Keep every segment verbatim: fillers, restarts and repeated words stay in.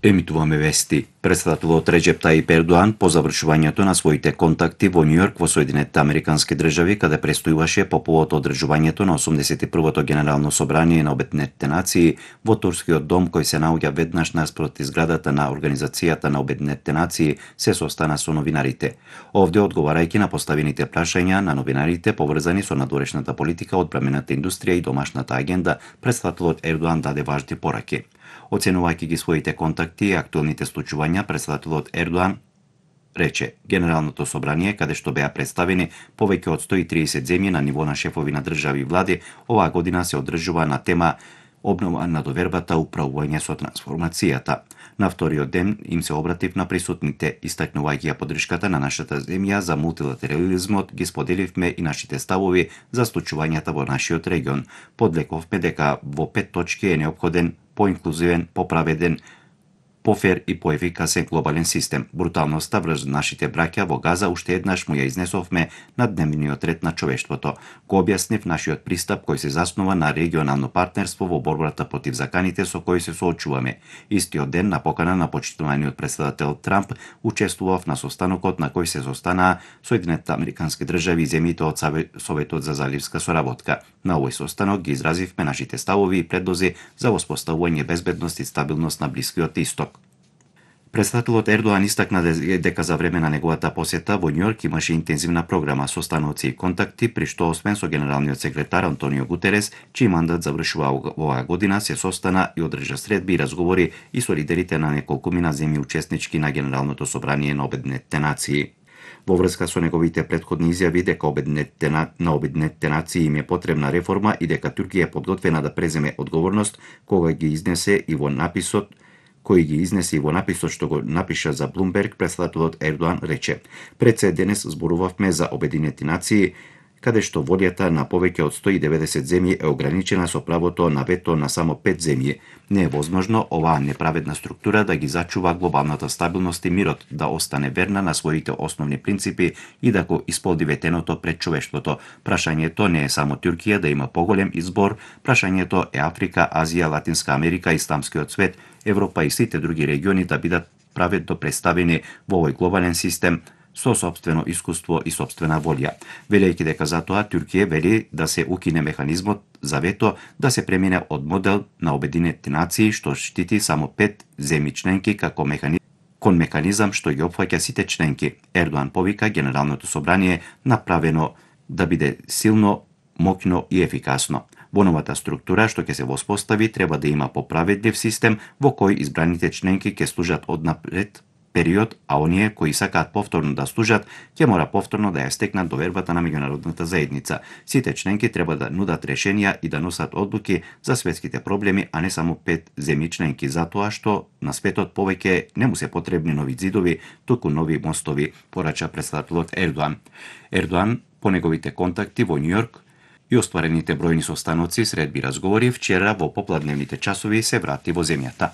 Емитуваме вести. Председателот Реџеп Тајип Ердоан по завршувањето на своите контакти во Њујорк во Соединетите Американски држави, каде престојуваше по повод одржувањето на осумдесет и првото Генерално собрание на Обединетите нации во Турскиот дом, кој се наоѓа веднаш наспроти зградата на Организацијата на Обединетите нации, се состана со новинарите. Овде, одговарајќи на поставените прашања на новинарите поврзани со надворешната политика, одбрамената индустрија и домашната агенда, председателот Ердоан даде важни пораки. Оценувајќи ги своите контакти и актуелните случувања, председателот Ердоан рече: Генералното собрание, каде што беа представени повеќе од сто и триесет земји на ниво на шефови на држави и влади, оваа година се одржува на тема обнова на довербата, управување со трансформацијата. На вториот ден им се обратив на присутните, истакнувајќи ја поддршката на нашата земја за мултилатерализмот, ги споделивме и нашите ставови за случувањата во нашиот регион. Подлековме дека во пет точки е неопходен поинклузивен, поправеден, пофер и поефикасен глобален систем. Бруталноста врз нашите браќа во Газа уште еднаш му ја изнесовме на дневниот ред на човештвото. Го објаснив нашиот пристап кој се заснува на регионално партнерство во борбата против заканите со кои се соочуваме. Истиот ден, на покана на почитуваниот председател Трамп, учествував на состанокот на кој се состанаа Соединетите Американски држави и земјите од Советот за заливска соработка. На овој состанок ги изразивме нашите ставови и предлози за воспоставување безбедност и стабилност на Блискиот Исток. Председателот Ердоан истакна дека за време на неговата посета во Њујорк имаше интензивна програма состаноци и контакти, при што освен со генералниот секретар Антонио Гутерес, чиј мандат завршува оваа година, се состана и одржа средби и разговори и со лидерите на неколкумина земји учеснички на Генералното собрание на Обединетите нации. Во врска со неговите претходни изјави дека Обединетите на, на Обединетите нации им е потребна реформа и дека Туркија е подготвена да преземе одговорност, кога ги изнесе и во написот кој ги изнесе и во написот што го напиша за Блумберг, председателот Ердоан рече: Пред се денес зборувавме за Обединети нации, каде што волјата на повеќе од сто и деветдесет земји е ограничена со правото на вето на само пет земји. Не е возможно оваа неправедна структура да ги зачува глобалната стабилност и мирот, да остане верна на своите основни принципи и да го исполни ветеното пред човештвото. Прашањето не е само Туркија да има поголем избор, прашањето е Африка, Азија, Латинска Америка, Исламскиот свет, Европа и сите други региони да бидат праведно представени во овој глобален систем со сопствено искуство и сопствена волја. Велејќи дека за тоа Туркија вели да се укине механизмот за вето, да се премине од модел на Обединетите нации што штити само пет земји членки како механизм кон механизам што ги опфаќа сите членки. Ердоан повика Генералното собрание направено да биде силно, моќно и ефикасно. Во новата структура што ќе се воспостави треба да има поправедлив систем во кој избраните членки ќе служат однапред период, а оние кои сакаат повторно да служат, ќе мора повторно да ја стекнат довербата на меѓународната заедница. Сите членки треба да нудат решенија и да носат одлуки за светските проблеми, а не само пет земји членки, затоа што на светот повеќе не му се потребни нови ѕидови, туку нови мостови, порача председателот Ердоан. Ердоан по неговите контакти во Њујорк и остварените бројни состаноци, средби разговори, вчера во попладневните часови се врати во земјата.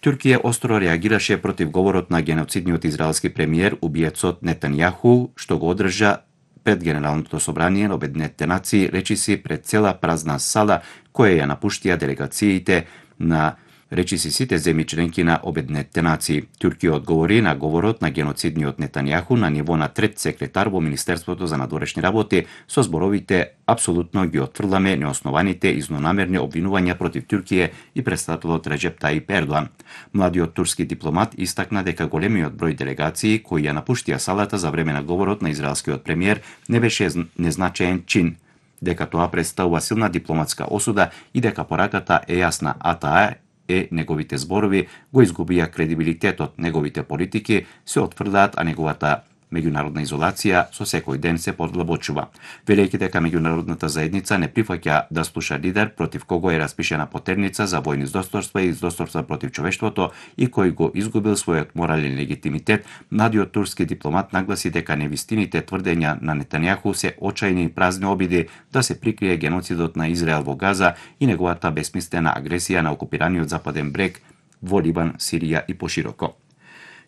Туркија остро реагираше против говорот на геноцидниот израелски премиер, убиецот Нетањаху, што го одржа пред Генералното собрание на Обединетите нации, речиси пред цела празна сала, која ја напуштија делегациите на речиси сите земји членки на Обединетите нации. Туркија одговори на говорот на геноцидниот Нетањаху на ниво на трет секретар во Министерството за надворешни работи со зборовите: апсолутно ги отфрламе неоснованите и злонамерни обвинувања против Туркија и председателот Реџеп Тајип Ердоан. Младиот турски дипломат истакна дека големиот број делегации кои ја напуштија салата за време на говорот на израелскиот премиер не беше незначаен чин, дека тоа представува силна дипломатска осуда и дека пораката е јасна, а таа е неговите зборови го изгубија кредибилитетот, неговите политики се отфрлаат, а неговата меѓународна изолација со секој ден се подлабочува. Велејќи дека меѓународната заедница не прифаќа да слуша лидер против кого е распишена потерница за војни злосторства и злосторства против човештвото и кој го изгубил својот морален легитимитет, младиот турски дипломат нагласи дека невистините тврдења на Нетањаху се очајни и празни обиди да се прикрие геноцидот на Израел во Газа и неговата бесмислена агресија на окупираниот западен брег во Либан, Сирија и пошироко.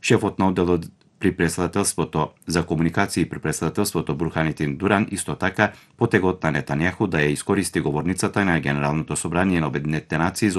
Шефот на одделот при председателството за комуникации при председателството Бурханетин Дуран исто така потегот на Нетањаху да ја искористи говорницата на Генералното собрание на Обединетите нации